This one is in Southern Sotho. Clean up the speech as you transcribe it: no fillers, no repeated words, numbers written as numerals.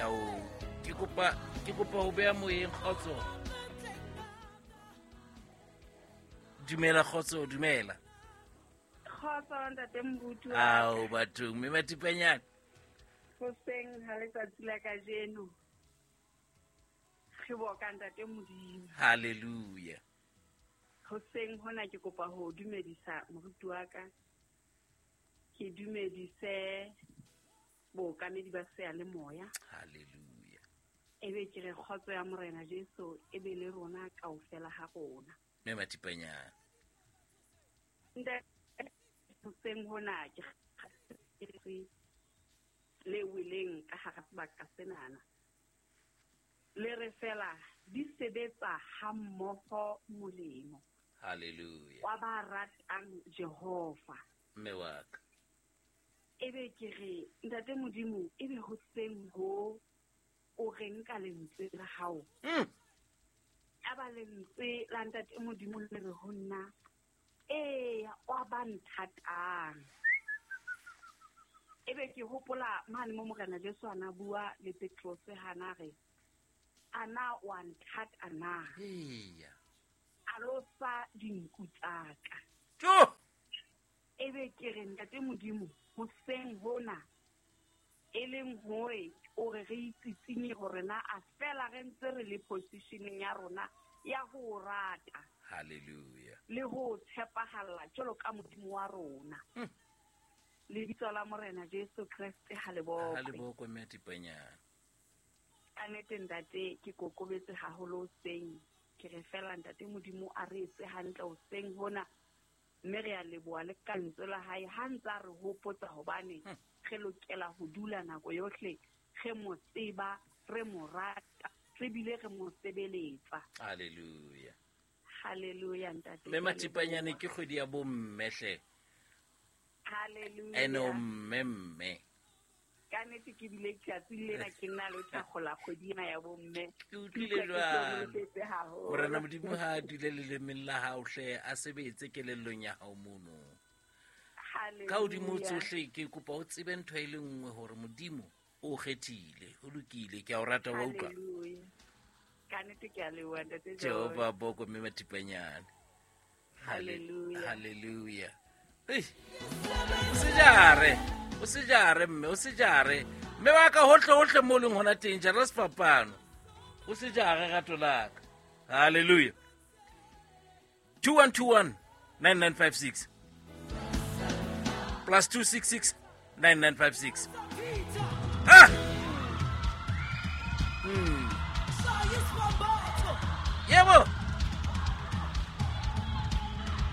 Ao, ke kopa ho beha moyeng. Kgotso, dumela. Kgotso, dumela. Kgotso, ntate Moruti. Ao bathong, mme Mathipanyane. Hoseng ha letsatsi la kajeno re boka ntate Modimo. Halleluja. Hoseng hona ke kopa ho dumedisa moruti wa ka, ke dumedise bookamedi ba seyalemoya. Halleluja. Ebe ke re kgotso ya Morena Jesu e be le rona kaofela ha rona. Mme Mathipanyane. Ntate, hoseng hona ke le weleng ka hara sebaka senana, le re fela di sebetsa hammoho molemo Halleluja. wa ba ratang Jehova. Mme wa ka. Ebe ke re, ntate Modimo, ebe hoseng ho o reng ka lentswe la hao? Aba lentswe la ntate Modimo le re ho nna, eya, wa ba nthatang. Ebe ke hopola mane mo Morena Jesu ana bua le Petrose, hana re, ana wa nthata na? Eya. A lo sa dinku tsaka. Jo. Ebe ke re, ntate Modimo, hoseng hona e leng hore o re re itsitsinye hore na a fela re ntse re le positioneng ya rona ya ho rata Halleluja. le ho tshepahalla jwalo ka Modimo wa rona. Lebitso la Morena Jesu Kreste ha le Ha le bokwe. bokwe, mme Mathipanyane. Ka nnete, ntate, ke kokobetse haholo hoseng. Ke re fela ntate Modimo a re etse hantle hoseng hona, mme re a leboha le ka lentswe la hae ha ntse a re hopotsa hobane re lokela ho dula nako yohle re mo tseba, re mo rata, re bile re mo sebeletsa. Halleluja. Halleluja, ntate. Mme Ke a Mathipanyane, leboha. ke kgwedi ya bomme hle. Halleluja. Ene o mme, mme. Ka nnete ke bile tsatsi lena ke nna le thakgola kgwedi ena ya bomme. Ke utlwile Ke utlwa ke jwalo. hlohonolofetse haholo. Morena Modimo ha a dule lelemeng la hao hle, a sebetse kelellong ya hao mono. Ka hodimo Halleluja. tsohle, ke kopa o tsebe ntho e le nngwe, hore Modimo o kgethile. Ho lokile, ke a o rata, wa utlwa. Halleluja. Ka nnete ke a leboha, ntate. Jehova boko, mme Mathipanyane. Halleluja. Halleluja. Ei, o se jare, o se jare, mme, o se jare, mme wa ka, hohle hohle mo leng hona teng, jara sefapano, o se jare rato la ka. Halleluja. 2121 9956, +266 9956. Ah! Yebo.